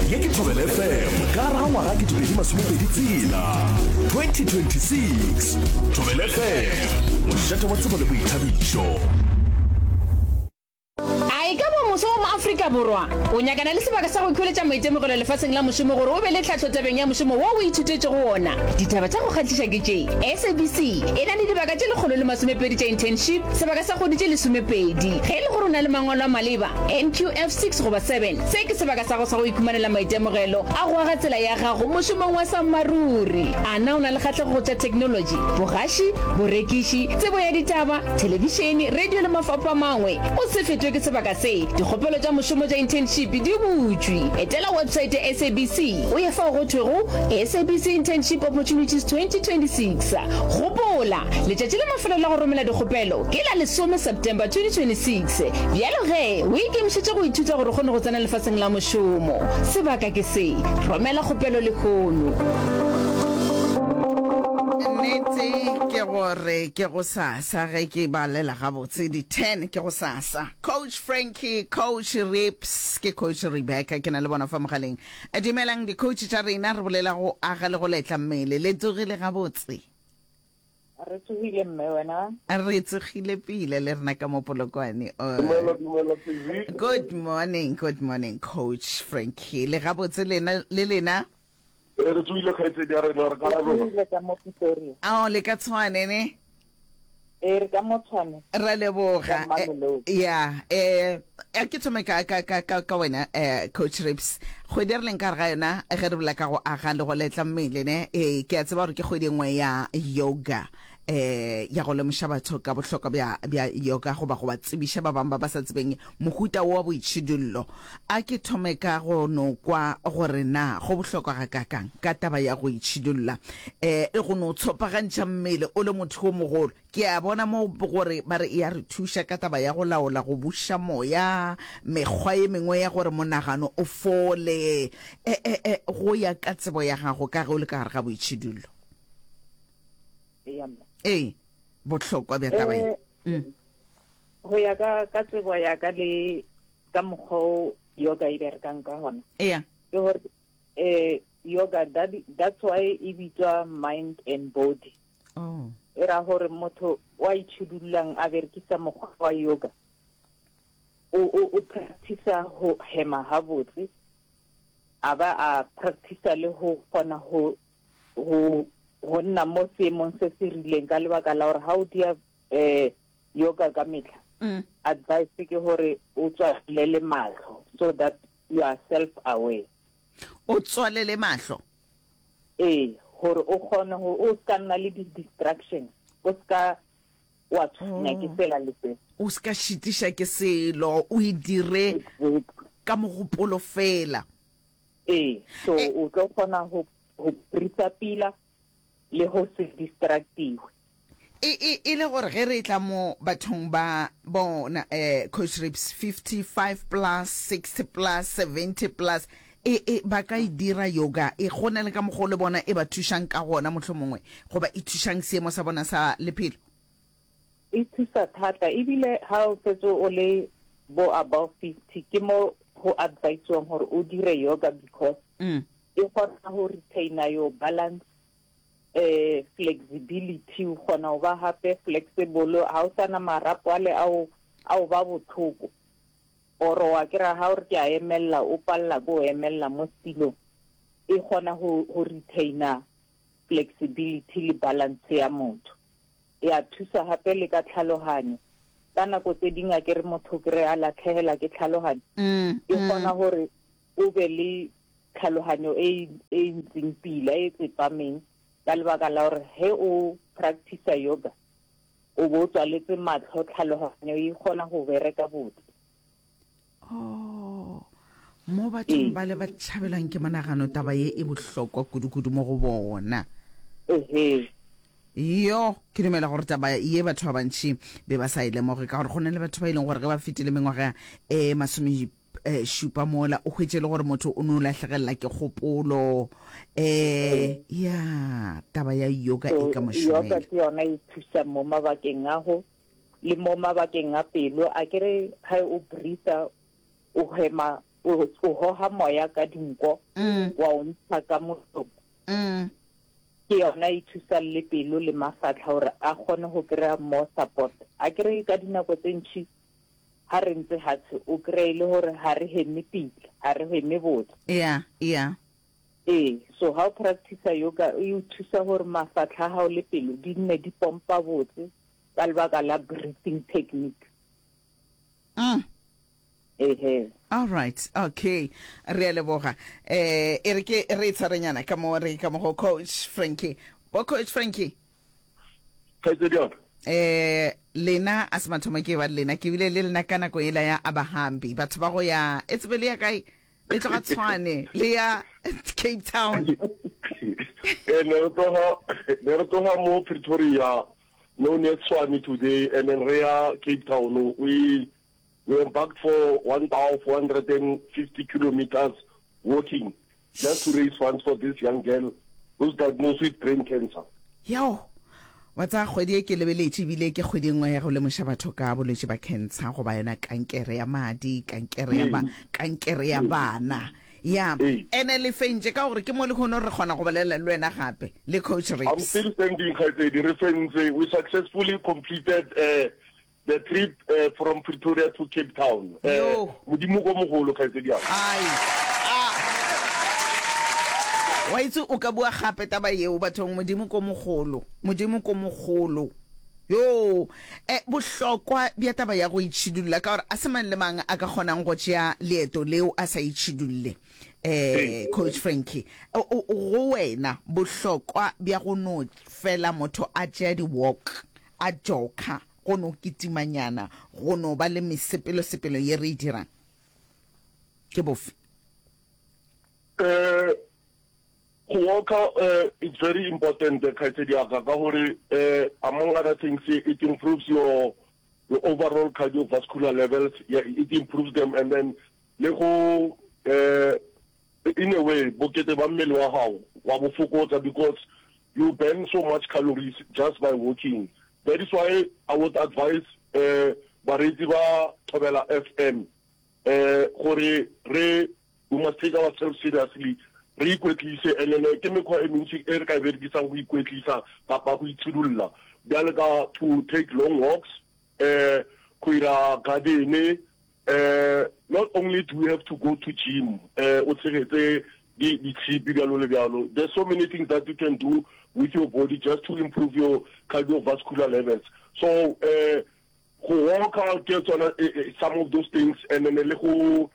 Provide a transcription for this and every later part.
Ye ke Thobela FM ka gare ga ngwaga 2026 2026. Thobela FM, mošate wa tsebo le boithabišo. A e ka ba moswa wa mo-Afrika Borwa o nyakana le sebaka sa go ikhweletša maitemogelo lefaseng la mošomo gore o be le tlhahlo tabeng ya mošomo wo o ithutetšego wona? Ditaba tša go kgahliša ke tše, SABC e na le dibaka tše 120 tša internship, sebaka sa kgwedi tše lesomepedi. Ge e le gore o na le mangwalo a maleba, NQF 6 goba 7, se ke sebaka sa go sa go ikhumanela maitemogelo a go aga tsela ya gago mošomong wa sammaruri. A na o na le kgahlego go tša theknolotši, bogaši, borekiši, tsebo ya ditaba, thelebišene, radio le mafapho a mangwe? O se fetwe ke sebaka se. Dikgopelo tša mošomo tša internship di butšwe. Etela websaete ya SABC o ye fao go thwego SABC Internship Opportunities 2026. Gopola, letšatši la mafelelo la go romela dikgopelo ke la lesome September 2026. Bjalo ge, o ikemišetše go ithuta gore o kgone go tsena lefaseng la mošomo. Sebaka ke se. Romela kgopelo lehono. Nnete ke gore ke gosasa ge ke balela gabotse di 10 ke gosasa. Coach Frankie, Coach Rips, ke Coach Rebecca ke na le bona fa mogaleng. Dumelang di-coach tša rena, re bolela go aga le go letla mmele. Le tsogile gabotse? Re tsogile mme, wena? Re tsogile pila le rena ka mo Polokwane. Oh. Dumela, dumela Sesi. Good morning, good morning Coach Frankie. Le gabotse lena le lena? Re re tsogile kgaitsedi ya rena, re ka Re tsogile ka mo Pretoria. Ao le ka Tshwane ne? Ee, re ka mo Tshwane. Ra leboga. Ka Mamelodi. Ya, eh a ke thome ka ka ka ka ka wena eh Coach Rips. Kgwedi e re leng ka gare ga yona ge re bolela ka go aga le go letla mmele ne, eh ke a tseba gore ke kgwedi e nngwe ya yoga eh ya go lemoša batho ka bohlokwa bja bja yoga goba go ba tsebiša ba bangwe ba ba sa tsebeng mohuta wo wa boitšhidullo. A ke thome ka go no kwa gore na go bohlokwa gakaakang ka taba ya go itšhidulla eh le go no tshopagantšha mmele o le motho o mogolo. Ke a bona mo gore ba re e a re thuša ka taba ya go laola go buša moya, mekgwa ye mengwe ya gore monagano o fole. E, e, e, go ya ka tsebo ya gago ka ge o le ka gare ga boitšhidullo. Eya mme. Ee, bohlokwa bja taba ye. Eh, Go ya ka ka tsebo ya ka le ka mokgwa o yoga e berekang ka gona. Eya. Ke gore eh yoga that, that's why e bitswa mind and body. Oh. E ra gore motho wa itšhidullang a berekisa mokgwa wa yoga o o o practice go hema gabotse a ba a practice le go kgona go go go nna mo seemong se se rileng ka lebaka la gore ga o dia um yoga ka metlha mm. advice ke gore o tswalele mahlo so that you are self aware o tswalele mahlo Ee, gore o kgone go o ska nna le di-distractions, o ska wa tshwenya ke sela le se. O ska šitiša ke selo, o e dire ka mogopolo fela. Ee, so o tlo kgona go go breatha pila le go se distractiwe. E, e, e le gore ge re etla mo bathong ba bona, eh, Coach Rips, 55 plus, 60 plus, 70 plus, e, e, ba ka e dira yoga, e, go na le ka mokgwa o le bona e ba thušang ka gona mohlomongwe, goba e thušang seemo sa bona sa lephelo? E thusa thata, ebile ha o setse o le bo above 50, ke mo go advise-wang gore o dire yoga because Mm. e kgona go retainer your balance eh flexibility o kgona go ba gape flexible ha o sana marapo ale ao ao ba botlhoko or wa kry-a ga o re ke a emelela o palela ko o emelela mo setilong e kgona go go retainer flexibility le balance ya motho e a thusa gape le ka tlhaloganyo ka nako tse dingwe a kere motho kry a latlhegela ke tlhaloganyo mm, e kgona mm. gore o be le tlhaloganyo e e ntseng pila, e tsepameng, ka lebaka la gore ge o practice-a yoga, o bo o tswaletse matlho, tlhaloganyo e kgona go bereka botse. Oh, mo bathong Ee. ba le ba tšhabelwang ke monagano, taba ye e bohlokwa kudu-kudu mo go bona. Ehe. Yo, ke dumela gore taba ye batho ba bantši be ba sa e lemoge, ka gore go na le batho ba e leng gore ge ba fetile mengwaga e masome eh, šupa mola o hwetše le gore motho o no lahlegelela ke kgopolo eh ya taba ya yoga e ka yoga mošomela ke yona e thusa mo mabakeng a go le mo mabakeng a pelo a kere ga o breatha o hema o o hoga moya ka dinko wa o ntsha ka molomo. Ke yona e thusang le pelo le mafatlha gore a kgone go kry-a more support. Akere ka dinako tse ntši ha re ntse hatshe o kry-e le gore ga re heme pila, ga re heme botse. Yeah, yeah. Ee, so ha o practice-a yoga e o thusa gore mafatlha a gago le pelo di nne di pompa botse ka lebaka la breathing technique. Ehe. All right, okay. Re a leboga. Eh, e re ke re e tshwarenyana ka mo re ka mo go Coach Frankie. Bo Coach Frankie. Kgaitsedi ya ka. Eh, lena a se mathomo ke ba le lena, ke bile le lena ka nako yela ya Abahambi. Batho ba go ya e tsebe le ya kae? Le tloga Tshwane, le ya Cape Town. Eh, ne re tloga ne re tloga mo Pretoria no near Tshwane today and then re ya Cape Town. We we embarked for 1450 kilometers walking just to raise funds for this young girl who's diagnosed with brain cancer. Yo, wa tsaya kgwedi e ke lebeletše ebile ke kgwedi e nngwe ya go lemoša batho ka bolwetši ba cancer goba yona kankere ya madi, kankere ya ba, kankere ya bana. Ya, ene le fentše ka gore ke mo lehono re kgona go bolela le wena gape le Coach I'm Rips. still standing kgaitsedi, re fentse. We successfully completed uh, The trip from Pretoria to Cape Town. Yo. Modimo ko mogolo kgaitsedi ya ka. Ai. Ah. Wa itse o ka bua gape taba yeo bathong Modimo ko mogolo. Modimo ko mogolo. Yo. Eh bohlokwa bja taba ya go itšhidulla ka gore a se mang le mang a ka kgonang go tšea leeto leo a sa itšhidulle. Eh Coach Frankie, go wena bohlokwa bja go no fela motho a tšea di walk a jokha, go no kitimanyana, go no ba le mesepelosepelo ye re e dirang ke bofe? Eh, go walka eh, it's very important eh, kgaitsedi ya ka ka gore eh, among other things it improves your your overall cardiovascular levels yeah, it improves them and then le go eh, In a way, bokete ba mmele wa gago wa bo fokotsa because you burn so much calories just by walking. That is why I would advise bareetsi ba Thobela FM gore re we must take ourselves seriously, re ikwetlise and then ke mekgwa e mentši e re ka e berekisang go ikwetlisa kapa go itshidulla bjale ka to take long walks, go ira garden, Not only do you have to go to gym o tshegetse di ditshipi bjalo le bjalo, there's so many things that you can do with your body just to improve your cardiovascular levels. So go walka ke tsona some of those things and then le go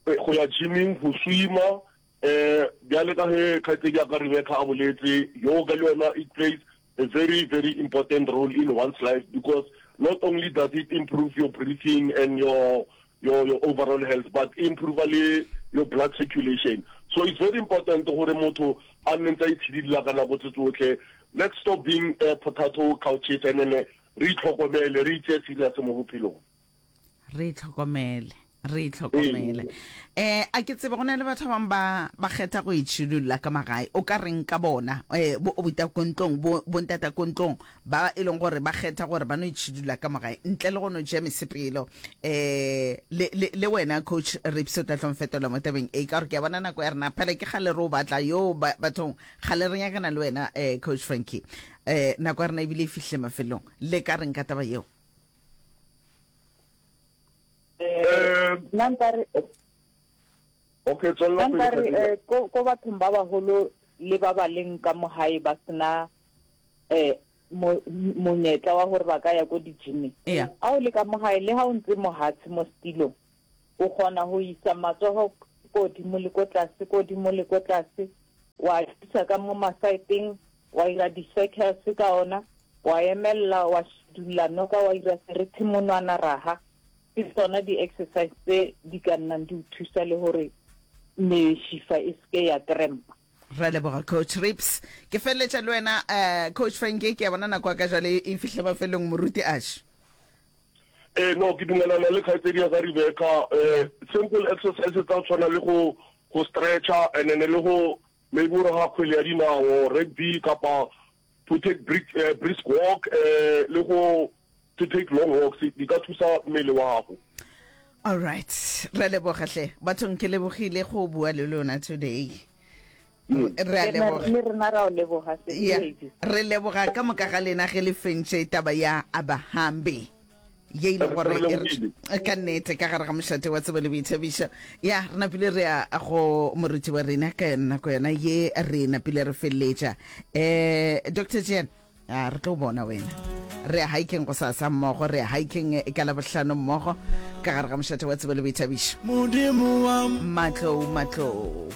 go ya gyming, go swima Bjale ka ge kgaetšedi ya ka Rebecca a boletse, yoga le yona it plays a very very important role in one's life because not only does it improve your breathing and your your your overall health but e improve le your blood circulation. So it's very important gore motho a nne ntse a itshidila ka nako tse tsotlhe. Let's stop being uh, potato couches and then re itlhokomele, re itseye serious mo bophelong. Re itlhokomele, re itlhokomele. Eh, a ke tsebe go na le batho ba bangwe ba ba kgetha go itšhidulla ka magae. O ka reng ka bona? Eh, bo obuta ko ntlong, bo bo ntata ko ntlong ba e leng gore ba kgetha gore ba no itšhidulla ka magae ntle le go no tšea mesepelo. Eh, le le le wena coach Rips o tla tlo mfetola mo tabeng e ka gore ke a bona nako ya rena phela ke kgale re o batla yo ba, bathong kgale re nyakana le wena eh coach Frankie. Eh, nako ya rena ebile e fihlile mafelong. Le ka reng ka taba yeo? Eh, nna nkare okay tswelela nna nkare eh, ko ko bathong ba bagolo le ba ba leng ka mo gae ba sena eh monyetla wa gore ba ka ya ko di-gyming Yeah. a o le ka mo gae le ga o ntse mohatshe mo setilong o kgona go isa matsogo ko godimo le ko tlase ko godimo le ko tlase wa isa ka mo masaeteng wa ira di-circles ka ona wa emelela wa šidulla noka wa ira serethe monwana raha. Ke tsona di-exercise tse di ka nnang di o thusa le gore mešifa e seke ya crampa. Re a leboga Coach Rips. Ke feleletša le wena uh, Coach Frankie, ke a bona nako ya ka jwale e fihla mafelong moruti Ash. Eh no ke dumelana le kgaitsedi ya ka Rebecca eh simple exercises tsa go tshwana le go go stretcha and then le go maybe o raga kgwele ya dinao rugby kapa to take brisk, uh, brisk walk uh, le go to take long walks di ka thusa mmele wa gago. All right, re a leboga hle. Bathong ke lebogile go bua le lona today. Re a leboga. Le rena ra o leboga Yeah, re leboga ka moka ga lena ge le fentše taba ya Abahambe ye ile gore e ka nnete ka gare ga mošate wa tsebo le boithabišo. Ya re napile re ya go moruti wa rena ka yona nako yona ye re napile re feleletša. Eh Dr. Jan A re tlo bona wena. Re ya hiking go sasa mmogo, re ya hiking ka Labohlano mmogo ka gare ga mošate wa tsebo le boithabišo. Modimo wa Matlou, matlou.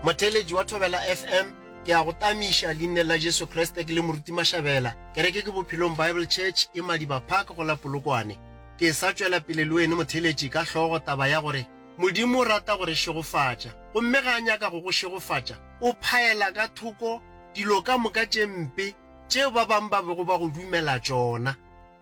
Motheeletši wa Thobela FM, ke a go tamiša leineng la Jesu Kriste ke le Moruti Mashabela. Kereke ke Bophelong Bible Church e Madiba Park go la Polokwane. Ke sa tšwela pele le wene motheeletši ka hlogo taba ya gore Modimo o rata go re šegofatša, gomme ge a nyaka go go šegofatša, o phaela ka thoko dilo ka moka tše mpe tšeo ba bangwe ba bego ba go dumela tšona.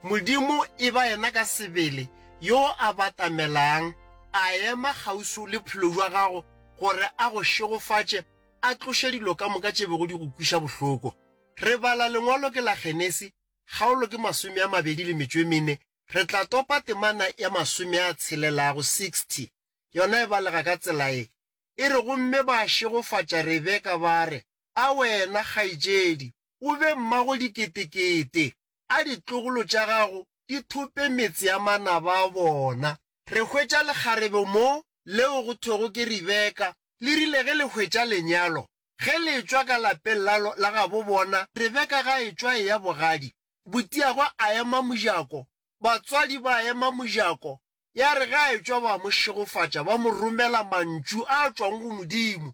Modimo e ba yena ka sebele yo a batamelang, a ema kgauswi le bophelo bja gago gore a go šegofatše, a tloše dilo ka moka tše bego di go kweša bohloko. Re bala lengwalo ke la Genesi, kgaolo ke 28 Re tla topa temana ya masome a tshelelago, 60. Yona e balega ka tsela ye. E re, Gomme ba šegofatša Rebeka ba re, A wena, kgaetšedi, o be mmago diketekete, a ditlogolo tša gago di thope metse ya manaba a bona. Re hwetša lekgarebe mo, leo go thwego ke Rebeka, le rile ge le hwetša lenyalo, ge le etšwa ka lapeng la, la gabo bona, Rebeka ga etšwa eya bogadi, Botiagwe a ema mojako, batswadi ba ema mojako, ya re ge a etšwa ba mo šegofatša, ba mo romela mantšu a tšwago go Modimo,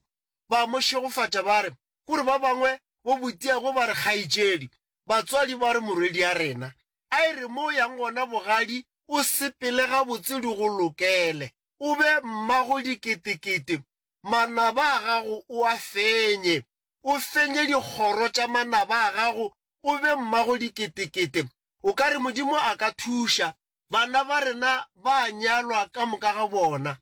ba mo šegofatša ba re, Kore ba bangwe bo botiagwe ba re kgaetšedi, batswadi ba re morwedi a rena, a e re mo o yang gona bogadi o sepele gabotse di go lokele, o be mmago diketekete, manaba a gago o a fenye, o fenye dikgoro tša manaba a gago o be mmago diketekete. O ka re Modimo a ka thuša. Bana ba rena ba a nyalwa ka moka ga bona.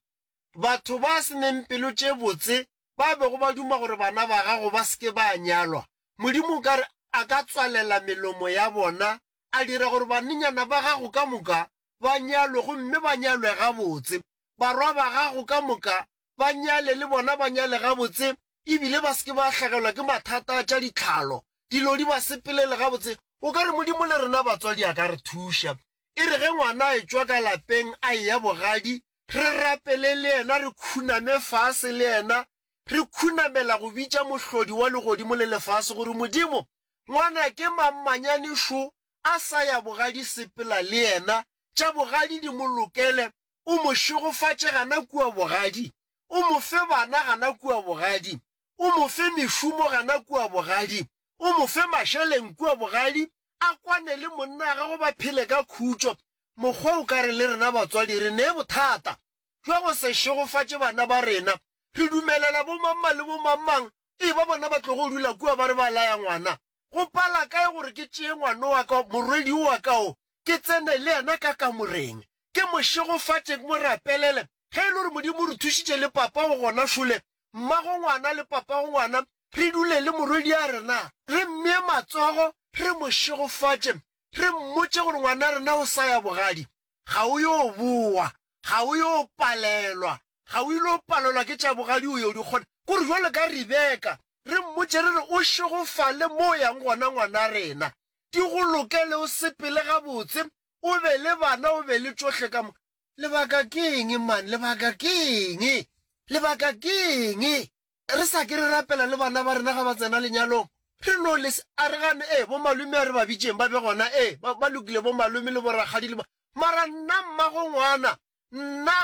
Batho ba se neng pelo tše botse ba bego ba duma gore bana ba gago ba se ke ba nyalwa, Modimo o ka re a ka tswalela melomo ya bona, a dira gore banenyana ba gago ka moka ba nyalwe gomme ba nyalwe gabotse, barwa ba gago ka moka ba nyale le bona ba nyale gabotse e bile ba se ke ba hlagelwa ke mathata a tša ditlhalo, dilo di ba sepelele gabotse. O ka re Modimo le rena batswadi a ka re thuša. E re ge ngwana a etšwa ka lapeng a eya bogadi, re rapele le yena, re khuname fase le yena, re khunamela go bitša Mohlodi wa legodimo le lefase gore, Modimo, ngwanake mammanyane šo a sa ya bogadi sepela le yena, tša bogadi di mo lokele, o mo šegofatše gana kua bogadi, o mo fe bana gana kua bogadi, o mo fe mešomo gana kua bogadi, o mo fe mašeleng kua bogadi, a kwane le monna wa gagwe ba phele ka khutšo. Mokgwa o ka re le rena batswadi re ne bothata bja go se šegofatše bana ba rena. Re dumelela bomangmang le bomangmang e ba bona ba tlogo dula kua ba re ba laya ngwana. Go pala kae gore ke tšee ngwano wa ka, morwedi wa ka o, ke tsene le yena ka kamoreng, ke mo šegofatše, ke mo rapelele? Ge e le gore Modimo o re thušitše le papa o gona šole, mmago ngwana le papago ngwana, re dule le morwedi a rena, re mmee matsogo, re mo šegofatše, re mmotše gore ngwana rena o sa ya bogadi, ga o yo bowa, ga o yo palelwa, ga o ile palelwa ke tša bogadi o yo di kgona. Kore jwalo ka Rebeka, re mmotše re re o šegofale mo o yang gona ngwana rena, di go lokele o sepele gabotse, o be le bana o be le tšohle ka moka. Lebaka ke eng man, lebaka ke eng? Lebaka ke eng? Re sa ke re rapela le bana ba rena ga ba tsena lenyalong. Re no les a re gane, ee, bomalome a re ba bitšeng ba be gona, ee, ba, ba lokile bomalome le borakgadi le bo, mara nna mmago ngwana, nna.